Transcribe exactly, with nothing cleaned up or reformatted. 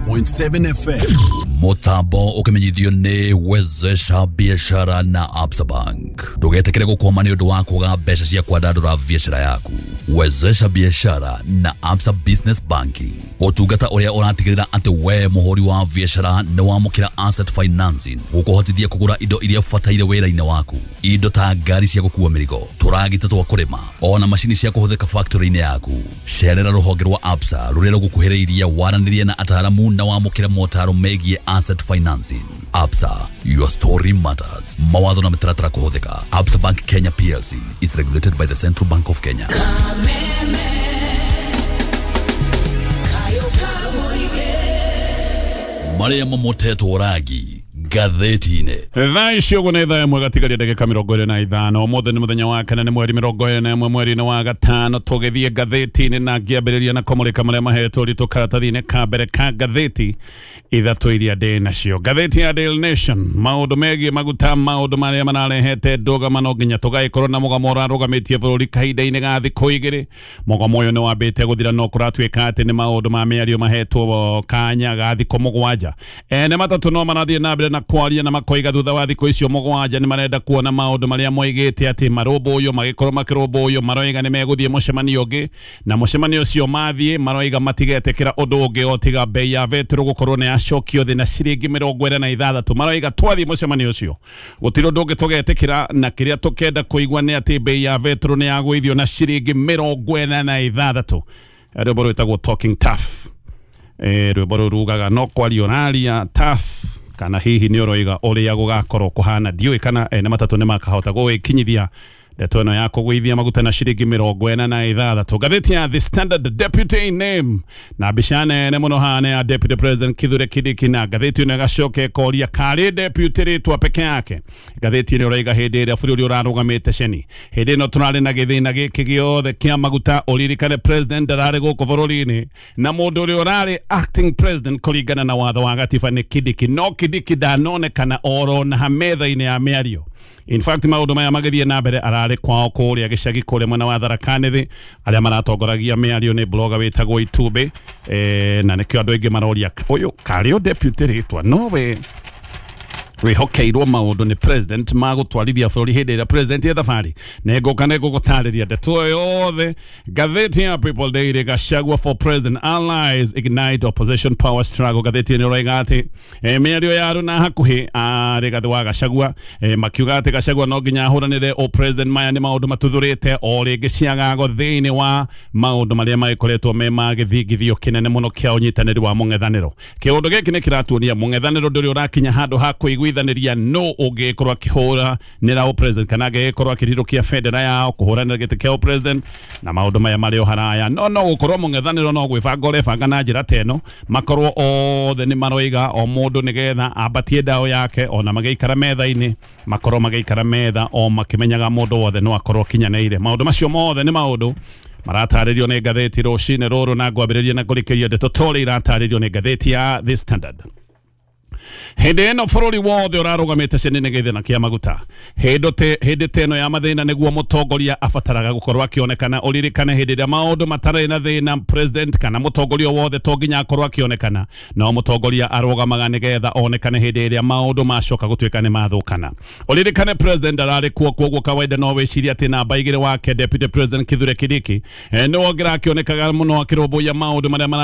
ninety-six point seven F M. Mutambo ukimenyithio ni Wezesha Biashara na Absa Bank. Ndugetikire gukwama ni undu wa kuga mbeca cia kwandandura biashara yaku. Wezesha Biashara na Absa Business Banking, utungata uria uratigirira ati we muhuri wa biashara ni wamukira asset financing gukuhotithia kugura indo iria ubataire wira-ini waku, indo ta ngari cia gukua mirigo, turagita twa kurima, ona macini cia kuhuthika factory-ini yaku. Cerera ruhonge rwa Absa ruria rugukuhiriirie, waranirie na ataramu na wamukire motaro megie asset financing. Absa, your story matters. Mawatho na mitaratara kuhuthika. Absa Bank Kenya P L C is regulated by the Central Bank of Kenya. Kameme kayo kamuige. Maria mamotetwo rangi ngathĩti-inĩ. Thaa icio ũguo nĩ thaa ĩmwe gatigaria ndagĩka mĩrongo ĩrĩ na ithano. Ũmũthĩ nĩ mũthenya wa kana, nĩ mweri mĩrongo ĩrĩ na ĩmwe mweri-inĩ wa gatano. Tũgĩthiĩ ngathĩti-inĩ na ngĩambĩrĩria na kũmũrĩka marĩa mahetwo ũritũ karatathi-inĩ ka mbere ka ngathĩti ithatũ iria ndĩ nacio. Ngathĩti ya Daily Nation, maũndũ megiĩ maguta, maũndũ marĩa mararehete ndũgamano nginya tũgagĩkorwo na mũgomo ũrarũgamĩtie bũrũri kahinda-inĩ ga thikũ igĩrĩ. Mũgomo ũyũ nĩ wambĩte gũthira, no kũratuĩka atĩ nĩ maũndũ ma mĩario mahetwo kanya ga thikũ mũgwanja. Ene matatũ no marathiĩ na mbere na kwaria na makoiga thutha wa thikũ icio mũgwanja nĩ marenda kuona maũndũ marĩa moigĩte atĩ marũmbũywo magĩkorwo makĩrũmbũywo. Maroiga nĩ megũthiĩ mũcemanio ũngĩ, na mũcemanio ũcio mathiĩ maroiga matigetĩkĩra ũndũ ũngĩ o tiga bei ya betũrũ gũkorwo nĩ yacokio thĩ na ciringi mĩrongo ĩna na ithathatũ. Maroiga twathiĩ mũcemanio ũcio gũtirĩ ũndũ ũngĩ tũgetĩkĩra, na kĩrĩa tũkenda kũigua nĩ atĩ bei ya betũrũ nĩ yagũithio na ciringi mĩrongo ĩna na ithathatũ. Rwĩmbo rwĩtagwo "Talking Tough". eh, rwĩmbo rũu rugaga no kwaria ũraria tough, kana hihi nĩ ũroiga ũrĩa gũgakorwo kũhana? Ndiũĩ kana ene matatũ nĩ makahota gũgĩkinyithia ndeto ĩno ya kũgũithia maguta na ciringi mĩrongo ĩna na ithathatũ. Ngathĩti ya The Standard, deputy name na mbica nene mũno hana ya Deputy President Kithure Kindiki, na ngathĩti ĩno ĩgacoka ĩkoria karĩ deputy rĩtwa peke yake. Ngathĩti ĩno ĩroiga hĩndĩ ĩrĩa bũrũri ũrarũgamĩte ceni, hĩndĩ ĩno tũrarĩ na gĩthĩna gĩkĩ gĩothe kĩa maguta, ũririkane president ndararĩ gũkũ bũrũri-inĩ, na mũndũ ũrĩa ũrarĩ acting president kũringana na watho wa gatiba nĩ Kindiki, no Kindiki ndanonekana oro na metha-inĩ ya mĩario. In fact, maũndũ maya magĩthiĩ na mbere ararĩ kwao kũrĩa gĩcagi kũrĩa mwena wa Tharaka Nithi. Arĩa maratongoragia mĩario nĩ blogger wĩtagwo Itumbĩ, eh, na nĩkĩo andũ aingĩ maroria ũyũ karĩ o deputy rĩtwa nowe wĩhokeirwo maũndũ nĩ president ma gũtwarithia bũrũri hĩndĩ ĩrĩa president e thabarĩ. Nĩ ngũka nĩ ngũgũtarĩria ndeto ĩyo yothe. Ngathĩti ya People Daily, Gachagua for President allies ignite opposition power struggle. Ngathĩti ĩno ĩroiga atĩ eh, mĩario ya arũ na hakuhĩ a Rigathĩ wa Gachagua, eh, makiuga atĩ Gachagua no nginya ahũranĩre o president. Maya nĩ maũndũ matuthũrĩte o rĩngĩ ciagago thĩinĩ wa maũndũ marĩa magĩkoretwo me ma gĩthingithio kĩnene mũno kĩa ũnyitanĩri wa mũng'ethanĩro. Kĩũndũ gĩkĩ nĩ kĩratuonia mũng'ethanĩro ndũrĩ ũrakinya handũ ha kũiguithanĩria no ũngĩkorwo akĩhũranĩra o president kana angĩgĩkorwo akĩrirũkia bendera yao kũhũranĩra gĩtĩ kĩa o president, na maũndũ maya marĩ o haraya. no no gũkorwo mũng'ethanĩro no gwĩbanga ũrebanga na njĩra ta ĩno, makorwo othe nĩ maroiga o mũndũ nĩgetha ambatie ndaũ yake, ona magĩikara metha-inĩ makorwo magĩikara metha o makĩmenyaga mũndũ wothe no akorwo akinyanĩire. Maũndũ macio mothe nĩ maũndũ maratarĩrio nĩ ngathĩti rũcinĩ rũrũ, na ngwambĩrĩria na kũrĩkĩria ndeto torĩ iratarĩrio nĩ ngathĩti ya The Standard. Hĩndĩ ĩno bũrũri wothe ũrarũgamĩte ceni nĩ gĩthĩna kĩa maguta, hĩndĩ te hĩndĩ ta ĩno ya mathĩna nĩguo mũtongoria abataraga gũkorwo akĩonekana. Ũririkane hĩndĩ ĩrĩa maũndũ matarĩ na thĩna, president kana mũtongoria wothe to nginya akorwo akĩonekana, no mũtongoria arũgamaga nĩgetha onekane hĩndĩ ĩrĩa maũndũ macoka gũtuĩka nĩ mathũkana. Ũririkane president ararĩ kuo, koguo kawaida no wĩcirie atĩ namba igĩrĩ wake, Deputy President Kithure Kindiki, eh, nĩwe ũngĩrakĩonekaga mũno akĩrũmbũiya maũndũ marĩa mara